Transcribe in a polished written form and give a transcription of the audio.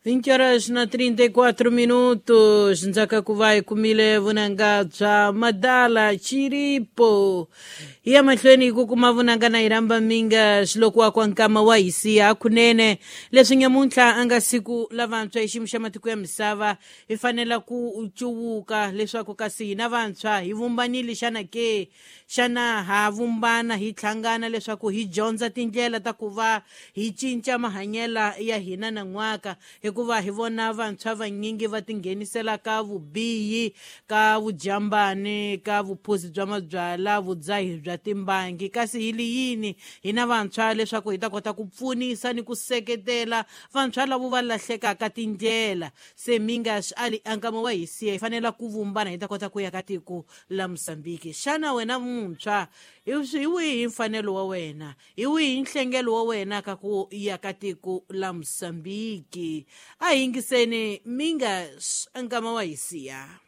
20 horas na 34 minutos. Ndzaka ku va hi kumile vunanga bya Madala Chiripo. Hi ya mahlweni hi ku kuma vunanga na hi rhamba minga xiloko wa kwa nkama wa hi siya kunene. Leswi nyamuntlha a nga siku la vantshwa hi xiyimo xa matiko ya misava, hi fanela ku cuwuka leswaku kasi hina vantshwa hi vumbanile xana ke? Xana ha vumbana hi hlangana leswaku hi dyondza tindlela ta ku va hi cinca mahanyelo ya hina nan'waka, hikuva hi vona vantshwa vanyingi va tinghenisela ka vubihi, ka vujambani, ka vuphuzi bya mabyala, vudzahi bya timbangi. Kasi hi li yini hina vantshwa leswaku hi ta kota ku pfunisa ni ku seketela vantshwa lavo va lahlekaka tindlela? Se minga swi ali ankama wa hi siya, hi fanela ku vumbana hi ta kota ku ya ka tiko la Mozambique. Xana wena muntshwa hi wihi mfanelo wa wena, hi wihi nhlengelo wa wena ka ku ya ka tiko la Mozambique? A hi yingiseni minga ankama wa hi siya.